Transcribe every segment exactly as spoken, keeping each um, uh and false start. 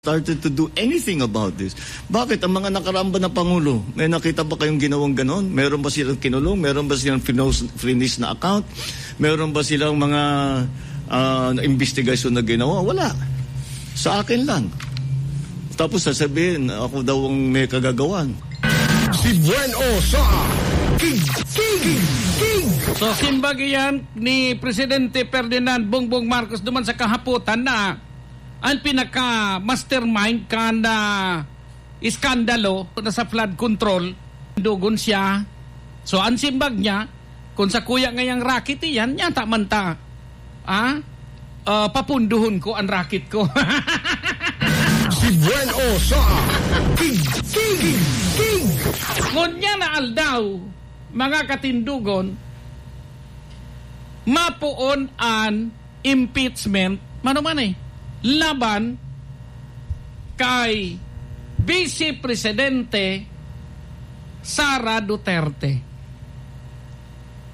started to do anything about this. Bakit? Ang mga nakaraan ba na Pangulo, may nakita ba kayong ginawang ganon? Meron ba silang kinulong? Meron ba silang finos-, finish na account? Meron ba silang mga, ah, investigasyon na ginawa? Wala. Sa akin lang. Tapos sasabihin, ako daw ang may kagagawan. Si Buen O sa King, King, King. So, simbag iyan ni Presidente Ferdinand Bongbong Marcos duman sa kahapotan na an pinaka-mastermind kan, ah, iskandalo na sa flood control, dugon siya. So, an simbag niya, kung sa kuya ngayang racket iyan, yata man ta, ah, ah, papunduhon ko an racket ko. Si Buen O sa King, King, King. Ngunyan na aldaw, mga katindogon, mapoon an impeachment, mano man eh, laban kay Vice Presidente Sara Duterte.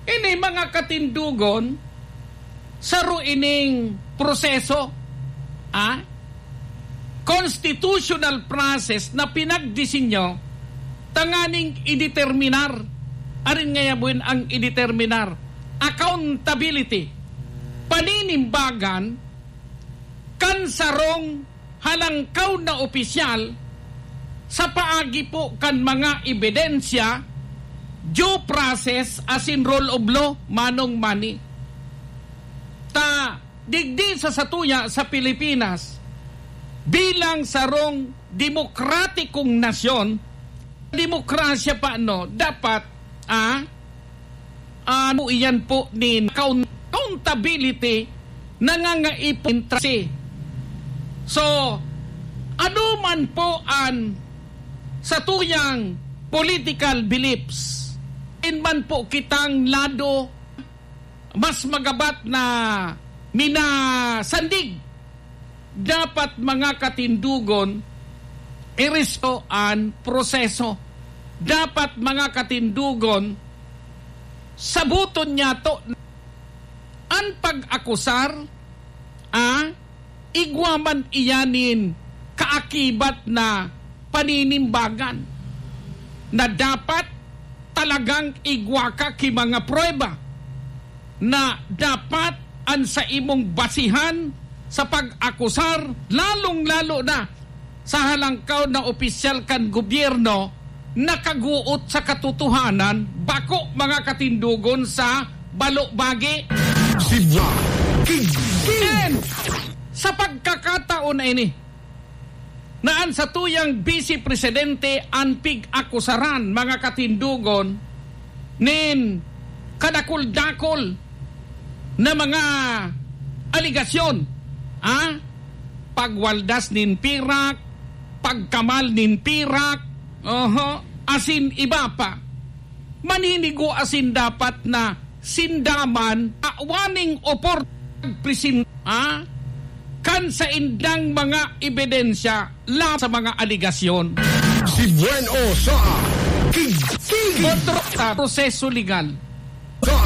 Ini, mga katindogon, saro ining proseso, ah, constitutional process na pinagdisenyo tanganing ideterminar, arin ngaya buin ang ideterminar, accountability, paninimbagan kan sarong halangkaw na opisyal sa paagi po kan mga ebidensya, due process asin rule of law, manong Manny. Ta digdi sa satuya sa Pilipinas, bilang sarong demokratikong nasyon, demokrasya pa, no, dapat, ah, ano iyan po nin account-, accountability, nangangaipon trasi. So, ano man po an satuyang political beliefs, in man po kitang lado mas magabat na minasandig. Dapat, mga katindogon, iresto an proseso. Dapat, mga katindogon, saboton niyato an pag-akusar, ah, igwa man iyan nin kaakibat na paninimbagan na dapat talagang igwa ka ki mga prueba na dapat an saimong basihan sa pag-akusar, lalong-lalo na sa halangkaw na opisyal kan gobyerno, nakaguot sa katotohanan, bako, mga katindogon, sa balobagi. Sibya, King, King. And sa pagkakataon na ini, na an satuyang Vice Presidente an pig-akusaran, mga katindogon, nin kadakul-dakul na mga aligasyon, ah? Pagwaldas nin pirak, pagkamal nin pirak, oho, asin iba pa. Maninigo asin dapat na sinda man awaning opor-, present, ah, kan saindang mga ebidensya laban sa mga aligasyon. Si Buen O sa King, King. Kontrol sa proseso legal. Sa